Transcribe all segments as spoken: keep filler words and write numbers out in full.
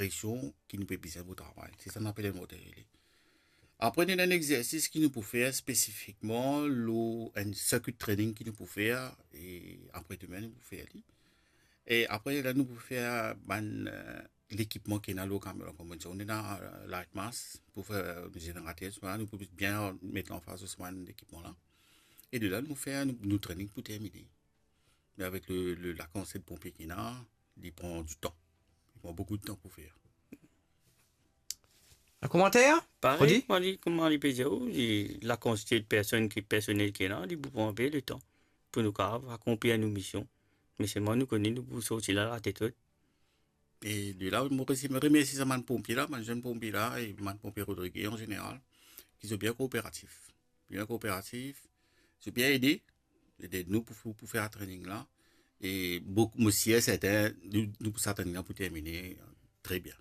presyon ki nou pe bizin pou travay. Se sa nou apel enn water relay. Apre, nou ena enn exersis ki nou pou fer spesifikman lor enn circuit training ki nou pou fer, e apre demin nou pou fer li. E apre la, nou pou fer bann, eh, lekipman ki ena lor kamion la, kouma nou dir, nou ena, eh, light mast pou fer, eh, zenerater, sa, nou pou bien met lanfaz lor sa bann lekipman la. E de la, nou fer nou, nou training pou termine. Me avek le, le, lakantite de ponpie ki ena, li pran ditan. Li pran boukou ditan pou fer. Un komanter? Parey, Rodi? Kouma li, kouma li pe dir, oh, li, lakantite de personn ki, personel ki ena, li pou pran enpe letan pou nou kapav akonplir nou mision. Me selman nou kone nou pou sorti la latet ot. E de la, mo remersie, mo remersie sa bann ponpie la, bann zenn ponpie la, e bann ponpie Rodriguez an zeneral, ki zot bien kooperatif. Bien kooperatif, zot bien ede, ede nou pou, pou, pou fer sa training la. E boukou, mo sir serten, nou, nou pou sa training la pou termine, eh, tre bien.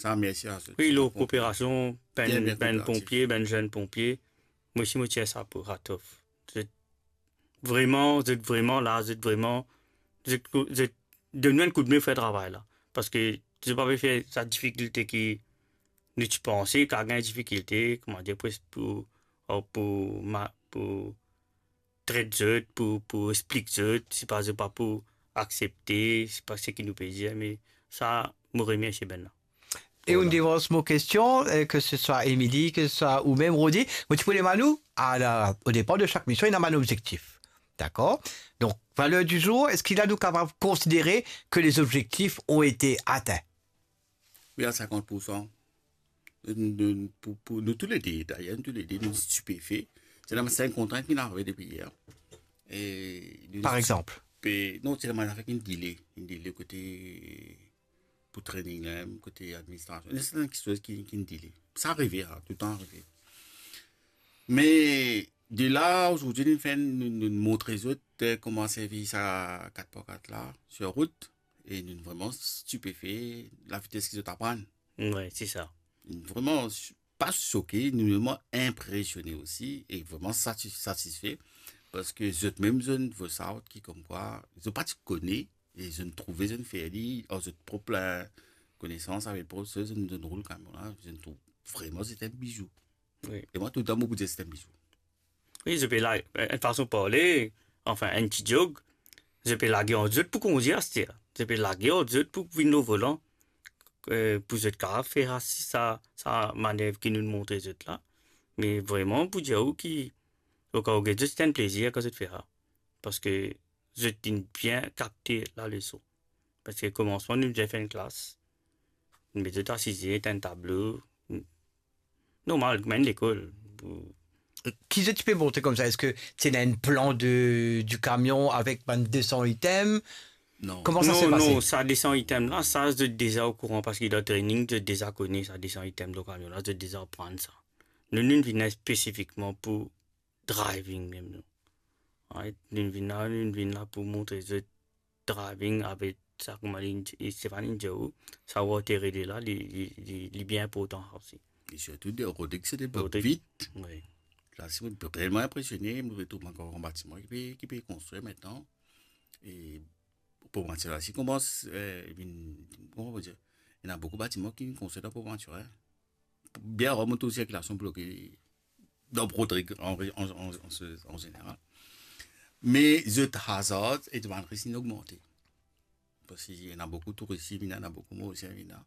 Sa, mersi a zot. Wi, lor kooperasion, bann, bien, bien bann kooperatif. Ponpie, bann zenn ponpie, mo osi mo tir sa pou hat off. Zot vreman, zot vreman la, zot vreman, zot, zot donn nou enn koudme fer travay la. Parski zot pa pe fer sa difikilte ki nou ti panse, ki gagn difikilte, kouma dir, pou, pou, pou ma-, pou tret zot, pou, pou explik zot, sipa zot pa pou aksepte, sipa seki nou pe dir, me sa, mo remersie bann la. E ou, voilà, devans mo kestion, eh, ke se swa Émilie, ke se swa ou mem, Rodi, mo ti pou demann ou, a la, o depar de sak mision, ena bann obzektif. Dakor? Donk, valeur du jour, eski la nou kapav konsidere ke les objectifs ont été atteints? Wi, a sinkant poursan. Nou, nou, pou, pou nou toulede, dayer, nou toulede, nou stipefe. Se la, se enn kontrint ki nou arive depi yer. E nou... Par exanp? Stipe-, non, se la, mo fek enn delay, enn delay kote pou training la, kote administrasion. Ena serten kiksoz ki, ki delay. Sa arive, a, toultan arive. Me de la, azordi, nou finn, nou, nou montre zot, eh, kouma servi sa kat par kat la, sir rout, e nou vreman stipefe, lavites ki zot aprann. Wi, se sa. Vreman, pa soke, nou vreman inpresione osi, e vreman sati-, satisfe, parski zot mem, zot inn vwar sa ki komkwa, zot pa ti kone, e zot inn trouve, zot inn fer li, ar zot prop, eh, konesans, avek prop, zot inn, zot inn roul kamion la, zot inn trouv vreman se enn bizou. Wi. E mwa, toultan, mo pou dir se enn bizou. Wi, zot pe la-, enn fason parle, anfin, enn ti zog, zot pe lage ant zot pou kondir aster. Zot pe lage ant zot pou vinn lor volan, eh, pou zot kapav fer sa, sa, sa manev ki nou montre zot la. Me vreman, pou dir ou ki, oka ou get zot, se enn plezir kan zot fer sa. Parski zot inn bien kapte laleson. Parski komansman, nou bizin fer enn klas, nou met zot asize, enn tablo, normal, kouma enn lekol. Ki zot ti pe montre koumsa? Eski ti ena enn plan de, du kamion avek bann de san item? Non. Kouma sa se pase? Non, non, sa de san item la, sa zot deza okouran, parski dan training, zot deza kone sa de san item dan kamion la, zot deza aprann sa. Nou, nou vinn spesifikman pou driving mem, nou. Right? Nou vinn la, nou vinn la pou montre zot driving avek sa, kouma li, Stéphanie dir ou, sa water relay la, li, li, li, li bien inportan sa osi. E sirtou de Rodrig, se de Rodrig, vit. Wi. La, si mo vremem inpresione, mo trouv ankor enn batiman ki pe, ki pe konstrir aster. E Port Mathurin la, si koumans, eh, vinn, kouma nou dir, ena boukou batiman ki konstrir dan Port Mathurin. Bien rar mo trouv sirkilasion bloke dan Rodrig an, an, an, an, an zeneral. Me zot hazard e demann risk inn ogmante. Parski ena boukou touris ki vinn la, ena boukou Morisien ki vinn la.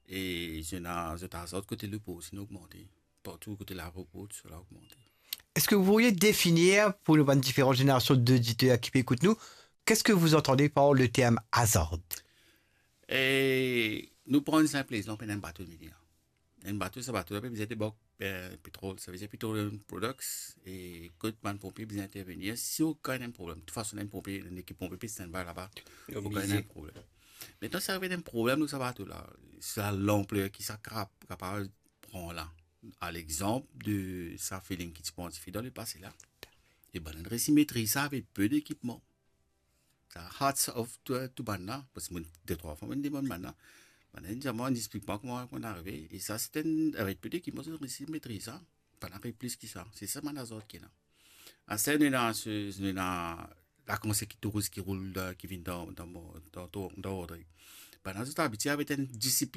E zot ena, zot hazard kote leport inn ogmante. Partou kote laeropor, tousala ogmante. Est-ce que vous pourriez définir pour nou bann diferan zenerasion d'oditer ki pe ekout nou, qu'est-ce que vous entendez par le terme hazard? E nou pran enn sinp lexanp, ena enn bato vini la. Enn bato, sa bato la pe bizin debak, eh, petrol, sa vedir petroleum products, e kot bann ponpie bizin intervenir si okenn problem. De tout fason, enn ponpie, enn ekip ponpie pe standby laba, okenn problem. Mintnan, si arive enn problem lor sa bato la, sa lanpler ki sa kap-, kapav pran la, a lexanp de sa flooding ki ti pran dife dan lepase la, e bann la resi metriz sa avek pe dekipman. Sa hats off to, to bann la, parski mo, de trwa fwa, mo demann bann la. Bann la dir mwa, inn explik mwa kouma, kouma arive. E sa, se enn, avek pe dekipman, zot resi metriz sa. Bann la ariv plis ki sa. Se sa bann hazard ki ena. Aster nou ena, nou ena lakantite touris ki roul dan, ki vinn dan, dan, dan, dan, dan Rodrig. Bann la zot abitie avek enn disiplin